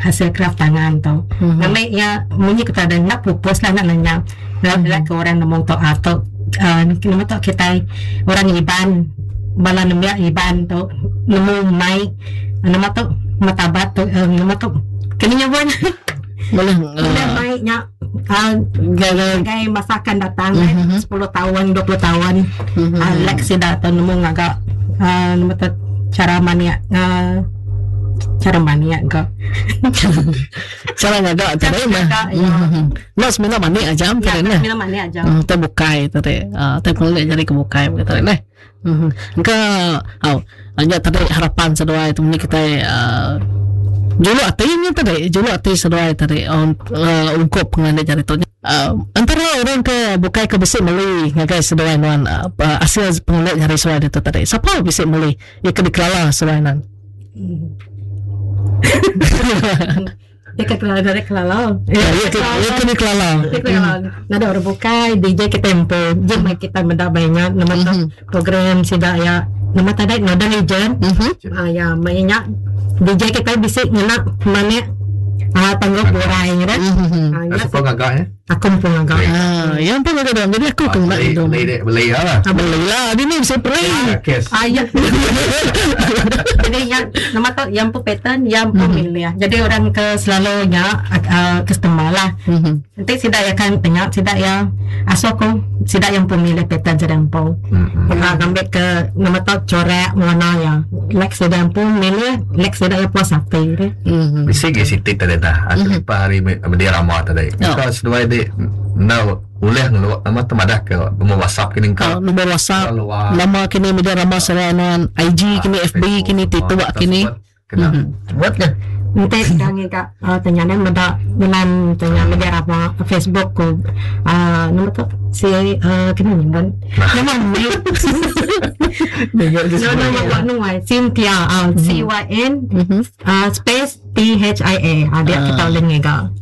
hasil kraf tangan tu. Ngambi iya munyi ku tadi enda pupus lah enda lenyau. Ila ke orang nemu tu ah tu ah nama tu kitai orang Iban bala nembiak Iban tu nemu mai nama tu martabat tu nama tu kini nyebut Boleh Ulih mai nya ngagai masa akan datang eh sepuluh taun 20 taun lek sida tu nemu ngaga nama tu cara manik cara manik ga. Cara ngaga tadi mah. Enda semina manik aja tadi neh. Semina manik aja. Tai bukai tadi. Tai pengelik jadi ke bukai tadi neh. Engka au nya tadi harapan seduai tu meni kitai uhh juluk ati nya tadi juluk ati seduai tadi uhh ungkup pengelandik jari tu uhh entara orang ke bukai ke bisi meli ngagai seduai nuan uhh asil pengelandik jari seduai ditu tadi sapa bisi meli iya ke dikelala seduai nuan. Iya ke kelala dari kelala. Iya iya ke iya ke dikelala. Iya kelala. Nadai orang bukai DJ kita empu. Jom meh kita meda ba inya nama tu program sida iya nama tadi Northern Region. Ah ya meh inya DJ kita bisi ngena manik ah tanggup burai nya dah. Ah nya Siapa ngaga ya? Aku empu ngaga. Ah, yang pun ngaga dalam. Jadi aku ke ngena Beli, hidung. beli, dek, beli lah. Ah, beli lah. Dia ni bisa beli. Kes. Ah, ya. Jadi yang nama tu yang pun pattern, yang pun milih. Jadi orang ke selalunya uh, customer lah. Nanti sida ya kan tanya sida ya asuh aku sida yang pun milih pattern sida empu. Mm-hmm. Ngambil ke nama tu corak warna ya. Like sida empu milih, like sida ya puas hati. Deh. Bisi gi siti tadi dah. Aku limpah ari media rama tadi. Engka seduai di enda ulih ngelu nama tu madah ke nombor WhatsApp kini engka. Nombor WhatsApp, nama kini media rama serai nuan, IG kini, FB kini, TikTok kini. Kena buat ke? Enti ka ngiga tanya ne meda dalam tanya media rama Facebook ku aaa nama tu si aaa kena nyebut nama nama nama Cynthia C Y N space T H I A ah dia kita ulih ngiga.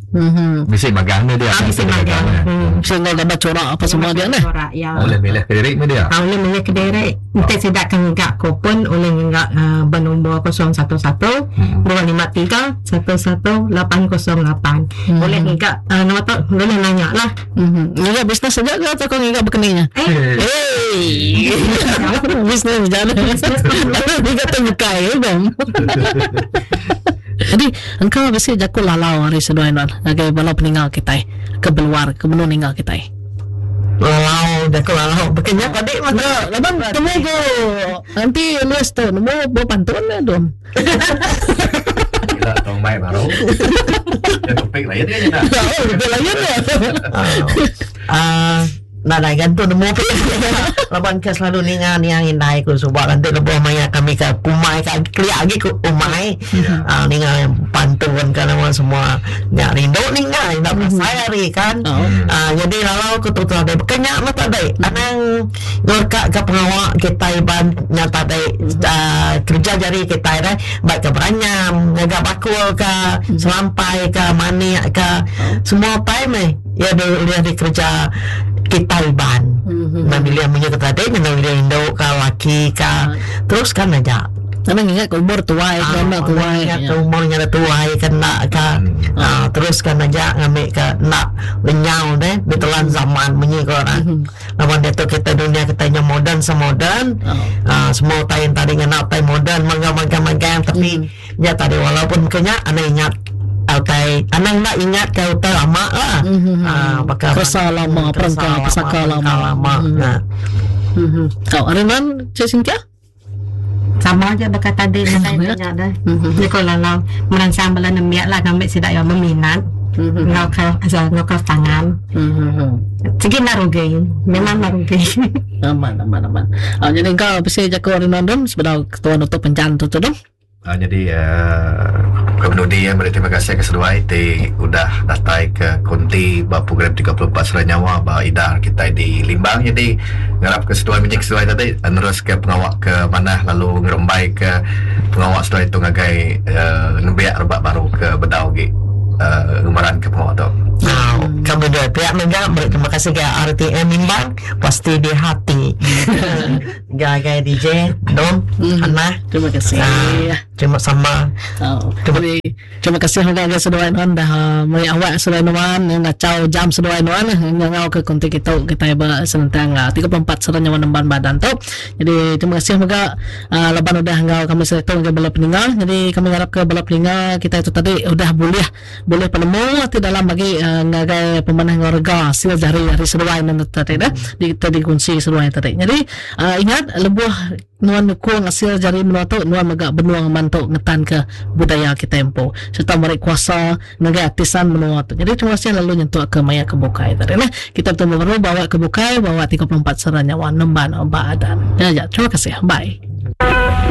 Bisi magang ne dia. Ah bisi magang. Bisi enggau gambar corak apa semua dia neh. Corak ya. Ulih milih kediri meh dia. Ah ulih milih kediri. Enti sida ke ngiga ku pun ulih ngiga ba nombor 011 253 11808. Ulih ngiga nama tu ulih nanya lah. Ngiga bisnes aja ke atau kau ngiga bekeni nya? Eh. Bisnes aja. Ngiga tu bukai eh bang. Jadi engka bisi jaku lalau ari seduai nuan ngagai bala peninga kitai ke beluar ke benung ninga kitai. Lalau jaku lalau baka nya tadi mah. Laban temu ku anti nulis tu nemu bepantun ne dom. Ila tong mai baru. Ya topik lain ke nya. Oh, topik lain ya. Ah, nadai gan tu nemu pia. Laban ke selalu ninga niang indai ku suba nanti lebuh maya kami ke kumai ke kelia agi ku umai. Ah, ninga pantun ke nama semua nya rindu ninga enda berasai hari kan. Ah, jadi lalau ku tu tadi baka nya meh tadi anang Ngeleka ka pengawa kitai iban nya tadi uhh kereja jari kitai deh ba ka beranyam ngaga bakul ka selampai ka manik ka semua utai meh iya ulih dikereja kitai iban. Enda milih munyi ke tadi enda milih indu ka laki ka teruskan aja. Anang ngingat ke umur tuai ke enda tuai. Ingat ke umur nya tuai ke enda ka teruskan aja ngambi ka enda lenyau deh ditelan zaman munyi ko orang. Laban diatu kitai dunya kitai nya moden semoden aaa semua utai enti tadi ngena utai moden mega magang magang tapi nya tadi walaupun ke nya anang ingat utai anang enda ingat ke utai lama lah aaa baka Keresa lama perengka pesaka lama. lama nya. Tau ari nuan Cik Cynthia? Sama aja baka tadi nadai nya deh. Nya ko lalau meransang bala nembiak lah ngambi sida iya meminat enggau ke asal enggau kraf tangan. Sigi enda rugi. Memang enda rugi. Amat amat amat. Jadi engka bisi jaku ari nuan dom sebedau ketua nutup penjan tu tu dom. Nyadi ke penudi iya meri terima kasih ke seduai ti udah datai ke konti ba program 34 Sera Nyawa ba idar kitai di Limbang nyadi ngarap ke seduai menyik seduai tadi neruska pengawa ke manah lalu ngerembaika pengawa seduai tu ngagai nembiak rebak baru ke bedau agi ngemeranka pengawa tu. Kami dua pia mega meri terima kasih ga RTM Limbang pasti di hati. Gagai DJ Dom Anah. Terima kasih. Terima sama. Oh. Terima, terima kasih mega ngagai seduai nuan dah meri awak seduai nuan ngachau jam seduai nuan ngangau ke konti kitu kitai ba senentang 34 sera nyawa nemban badan tu. Jadi terima kasih mega uh, laban udah enggau kami seritu ngagai bala peninga. Jadi kami ngarap ke bala peninga kitai tu tadi udah bulih bulih penemu ti dalam agi uh, ngagai pemanah enggau rega hasil jari ari seduai nuan tadi dah di dikunsi seduai tadi. Jadi uh, ingat lebuh Nuan nyukung asil jari menua tu, nuan mega benung mantu ngetanka budaya kitai empu sereta meri kuasa ngagai artisan menua tu. Nyadi terima kasih lalu nyentuk ke maya ke bukai tadi neh. Kita betemu baru ba awak ke bukai ba awak 34 sera nyawa nemban ba adan. Nya aja. Terima kasih. Bye.